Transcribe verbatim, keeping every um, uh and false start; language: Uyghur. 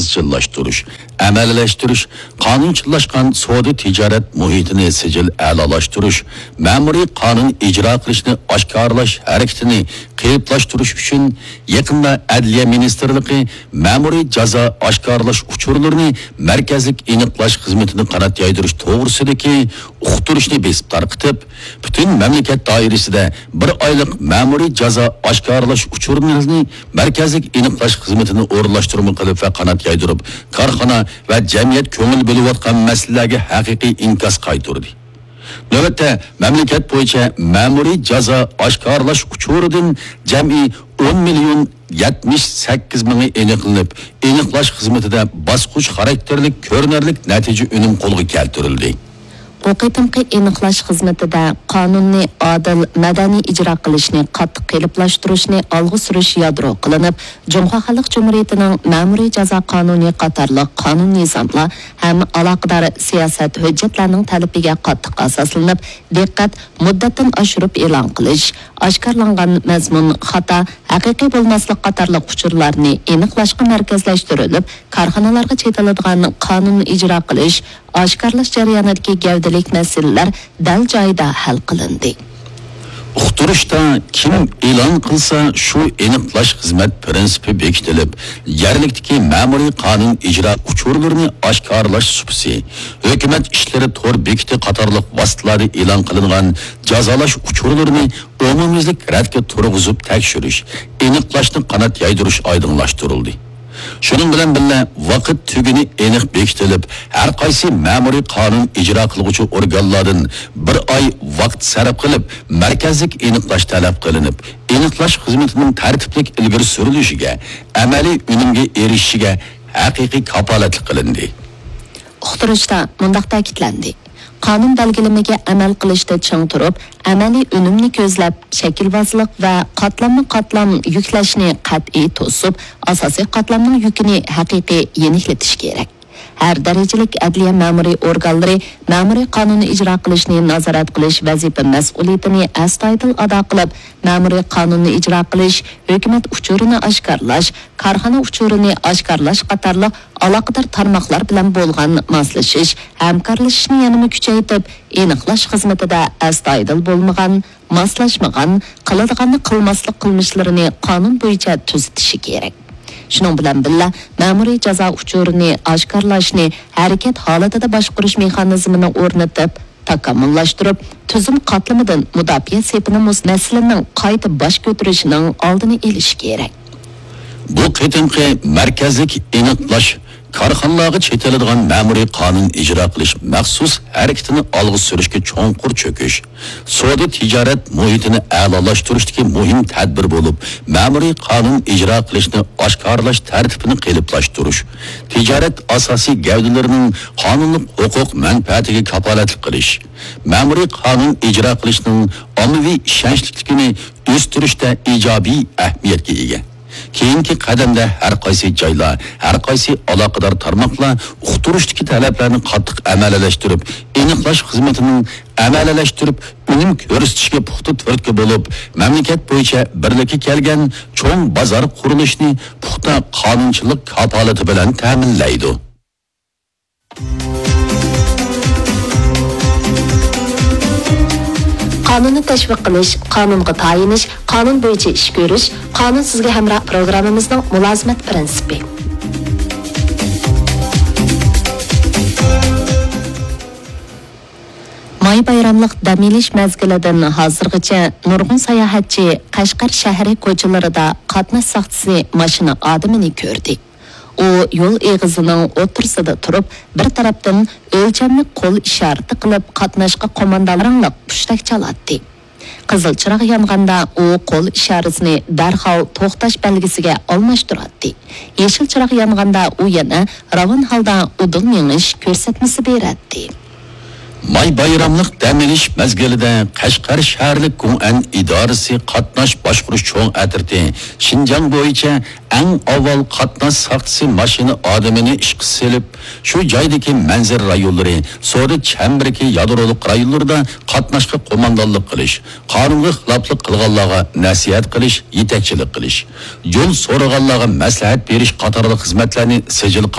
ئىزچىللاشتۇرۇش، ئەمەلىيلەشتۈرۈش، قانۇنچىللاشقان سودا تىجارەت مۇھىتىنى سىجىل ئەلالاشتۇرۇش، مەمۇرىي قانۇن ئىجرا قىلىشنى ئاشكارىلاش ھەرىكىتىنى قېلىپلاشتۇرۇش ئۈچۈن يېقىندا ئەدلىيە مىنىستىرلىقى مەمۇرىي جازا ئاشكارىلاش ئۇچۇرلىرىنى مەركەزلىك ئېنىقلاش خىزمىتىنى قانات يايدۇرۇش توغرىسىدىكى ئۇقتۇرۇشنى بېسىپ تارقىتىپ، پۈتۈن مەملىكەت دائىرىسىدە بىر ئايلىق مەمۇرىي جازا ئاشكارىلاش ئۇچۇرلىرىنى مەركەزلىك ئېنىقلاش خىزمىتىنى ئورۇنلاشتۇرما قىلىپ ۋە قانات يايدۇرۇپ، كارخانا ۋە جەمئىيەت كۆڭۈل بۆلۈۋاتقان مەسىلىلەرگە ھەقىقىي ئىنكاس قايتۇردى. نۆۋەتتە، مەملىكەت بويىچە مەمۇرىي جازا ئاشكارىلاش ئۇچۇرىدىن جەمئىي ئون مىليون يەتمىش سەككىز مىڭى ئېنىقلىنىپ، ئېنىقلاش خىزمىتىدە باسقۇچ خاراكتېرلىك كۆرۈنەرلىك نەتىجە ئۈنۈم قولغا كەلتۈرۈلدى. بۇ قېتىمقى ئېنىقلاش خىزمىتىدە قانۇننى ئادىل، مەدەنىي ئىجرا قىلىشنى قاتتىق قېلىپلاشتۇرۇشنى ئالغا سۈرۈش يادرو قىلىنىپ، جۇڭخۇا خەلق جۇمھۇرىيىتىنىڭ مەمۇرىي جازا قانۇنى قاتارلىق قانۇن نىزاملار ھەم ئالاقىدار سىياسەت ھۆججەتلەرنىڭ تەلىپىگە قاتتىق ئاساسلىنىپ، دىققەت مۇددەتتىن ئاشۇرۇپ ئېلان قىلىش، ئاشكارىلانغان مەزمۇن خاتا، ھەقىقىي بولماسلىق قاتارلىق ئۇچۇرلارنى ئېنىقلاشقا مەركەزلەشتۈرۈلۈپ، كارخانىلارغا چېتىلىدىغان قانۇن ئىجرا قىلىش، ئاشكارىلاش جەريانىدىكى گەۋدىلىك مەسىلىلەر دەل جايىدا ھەل قىلىندى. ئۇقتۇرۇشتا كىم ئېلان قىلسا، شۇ ئېنىقلاش خىزمەت پىرىنسىپى بېكىتىلىپ، يەرلىكتىكى مەمۇرىي قانۇن ئىجرا ئۇچۇرلىرىنى ئاشكارىلاش سۇپىسى، ھۆكۈمەت ئىشلىرى تور بېكىتى قاتارلىق ۋاسىتىلەردە ئېلان قىلىنغان جازالاش ئۇچۇرلىرىنى ئومۇميۈزلۈك رەتكە تۇرغۇزۇپ تەكشۈرۈش، ئېنىقلاشنى قانات يايدۇرۇش ئايدىڭلاشتۇرۇلدى. شۇنىڭ بىلەن بىللە، ۋاقىت تۈگۈنى ئېنىق بېكىتىلىپ، ھەر قايسى مەمۇرىي قانۇن ئىجرا قىلغۇچى ئورگانلاردىن بىر ئاي ۋاقىت سەرپ قىلىپ، مەركەزلىك ئېنىقلاش تەلەپ قىلىنىپ، ئېنىقلاش خىزمىتىنىڭ تەرتىپلىك ئىلگىرى سۈرۈلۈشىگە، ئەمەلىي ئۈنۈمگە ئېرىشىشىگە ھەقىقىي كاپالەتلىك قىلىندى. ئۇقتۇرۇشتا مۇنداق تەكىتلەندى: قانۇن بەلگىلىمىگە ئەمەل قىلىشتا چىڭ تۇرۇپ، ئەمەلىي ئۈنۈمنى كۆزلەپ، شەكىلۋازلىق ۋە قاتلاممۇ قاتلام يۈكلەشنى قەتئىي توسۇپ، ئاساسىي قاتلامنىڭ يۈكىنى ھەقىقىي يېنىكلىتىش كېرەك. ھەر دەرىجىلىك ئەدلىيە مەمۇرىي ئورگانلىرى مەمۇرىي قانۇننى ئىجرا قىلىشنى نازارەت قىلىش ۋەزىپە مەسئۇلىيىتىنى ئەستايىدىل ئادا قىلىپ، مەمۇرىي قانۇننى ئىجرا قىلىش، ھۆكۈمەت ئۇچۇرىنى ئاشكارىلاش، كارخانا ئۇچۇرىنى ئاشكارىلاش قاتارلىق ئالاقىدار تارماقلار بىلەن بولغان ماسلىشىش، ھەمكارلىشىشنى يەنىمۇ كۈچەيتىپ، ئېنىقلاش خىزمىتىدە ئەستايىدىل بولمىغان، ماسلاشمىغان، قىلىدىغاننى قىلماسلىق قىلمىشلىرىنى قانۇن بويىچە تۈزىتىشى كېرەك. شۇنىڭ بىلەن بىللە، مەمۇرىي جازا ئۇچۇرىنى ئاشكارىلاشنى ھەرىكەت ھالىتىدە باشقۇرۇش مېخانىزمىنى ئورنىتىپ، تاكامۇللاشتۇرۇپ، تۈزۈم قاتلىمىدىن مۇداپىئە سېپىنى مۇس-، مەسىلىنىڭ قايتا باش كۆتۈرۈشىنىڭ ئالدىنى ئېلىش كېرەك. بۇ قېتىمقى مەركەزلىك ئېنىقلاش كارخانىلارغا چېتىلىدىغان مەمۇرىي قانۇن ئىجرا قىلىش مەخسۇس ھەرىكىتىنى ئالغا سۈرۈشكە چوڭقۇر چۆكۈش، سودا تىجارەت مۇھىتىنى ئەلالاشتۇرۇشتىكى مۇھىم تەدبىر بولۇپ، مەمۇرىي قانۇن ئىجرا قىلىشنى ئاشكارىلاش تەرتىپىنى قېلىپلاشتۇرۇش، تىجارەت ئاساسىي گەۋدىلىرىنىڭ قانۇنلۇق ھوقۇق مەنپەئەتىگە كاپالەتلىك قىلىش، مەمۇرىي قانۇن ئىجرا قىلىشنىڭ ئاممىۋى ئىشەنچلىكلىكىنى ئۆستۈرۈشتە ئىجابىي ئەھمىيەتكە ئىگە. كېيىنكى قەدەمدە ھەر قايسى جايلار، ھەر قايسى ئالاقىدار تارماقلار ئۇقتۇرۇشتىكى تەلەپلەرنى قاتتىق ئەمەلىيلەشتۈرۈپ، ئېنىقلاش خىزمىتىنىڭ ئەمەلىيلەشتۈرۈپ، ئۈنۈم كۆرسىتىشكە پۇختا تۈرتكە بولۇپ، مەملىكەت بويىچە بىرلىككە كەلگەن چوڭ بازار قۇرۇلۇشىنى پۇختا قانۇنچىلىق كاپالىتى بىلەن تەمىنلەيدۇ. قانۇننى تەشۋىق قىلىش، قانۇنغا تايىنىش، قانۇن بويىچە ئىش كۆرۈش، قانۇن سىزگە ھەمراھ پروگراممىمىزنىڭ مۇلازىمەت پىرىنسىپى. ماي بايراملىق دەم ئېلىش مەزگىلىدىن ھازىرغىچە نۇرغۇن ساياھەتچى قەشقەر شەھىرى كوچىلىرىدا قاتناش ساقچىسى ماشىنا ئادىمىنى كۆردى. ئۇ يول ئېغىزىنىڭ ئوتتۇرىسىدا تۇرۇپ، بىر تەرەپتىن ئۆلچەملىك قول ئىشارىتى قىلىپ، قاتناشقا قوماندانلىق پۇشتەك چالاتتى. قىزىل چىراغ يانغاندا، ئۇ قول ئىشارىسىنى دەرھال توختاش بەلگىسىگە ئالماشتۇراتتى. يېشىل چىراغ يانغاندا، ئۇ يەنە راۋان ھالدا ئۇدۇل مېڭىش كۆرسەتمىسى بېرەتتى. ماي بايراملىق دەم ئېلىش مەزگىلىدە قەشقەر شەھەرلىك گۇڭئەن ئىدارىسى قاتناش باشقۇرۇش چوڭ ئەترىتى شىنجاڭ بويىچە ئەڭ ئاۋۋال قاتناش ساقچىسى ماشىنا ئادىمىنى ئىشقا سېلىپ، شۇ جايدىكى مەنزىرە رايونلىرى، سودا چەمبىرىكى يادرولۇق رايونلىرىدا قاتناشقا قوماندانلىق قىلىش، قانۇنغا خىلاپلىق قىلغانلارغا نەسىھەت قىلىش، يېتەكچىلىك قىلىش، يول سورىغانلارغا مەسلىھەت بېرىش قاتارلىق خىزمەتلەرنى سىجىل